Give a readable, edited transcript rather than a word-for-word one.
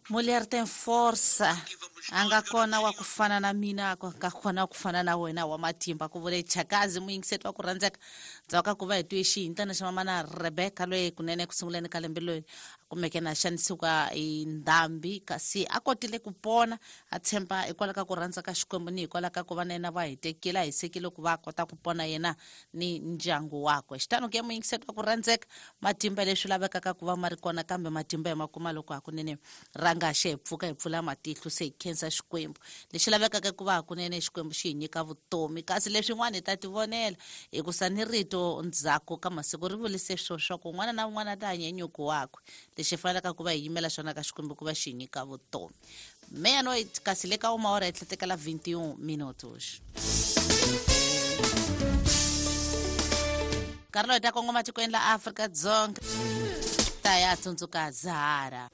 Mulher tem força. A nga kona wa ku fana na mina, a nga kona wa ku fana na wena wa matimba, ku vule Chakazi. Muyingiseti wa ku rhandzeka, ndzhaku ka ku va hi twe xihintana xa mamana Rebecca, loyi kunene ku sunguleni ka lembe loyi a kumeke na xanisiwa hi ndhambi, kasi a kotile ku pona, a tshemba hikwalaho ka ku rhandza ka Xikwembu ni hikwalaho ka ku va na yena va hitekile, a hisekile ku va a kota ku pona yena ni ndyangu wakwe. Xitano ke, muyingiseti wa ku rhandzeka, matimba leswi lavekaka ku va ma ri kona, kambe matimba hi ma kuma loko hakunene ranga xe hi pfuka, hi pfula matihlo, se hi khensa Xikwembu. Lexi lavekaka ku va hakunene Xikwembu xi hi nyika vutomi, kasi leswin'wana hi ta tivonela, hikusa ni rito ndzhaku ka masiku ri vurise swo swa ku un'wana na un'wana a ta hanya nyuku wakwe. Lexi fanelaka ku va hi yimela xona ka Xikwembu ku va xi hi nyika vutomi. Meia-noite, kasi le ka uma hora etlhetekela 21 minutos. Nkarhi lowu hi ta kongoma tikweni la Afrika-Dzonga, ta ya tsundzuka Zahara.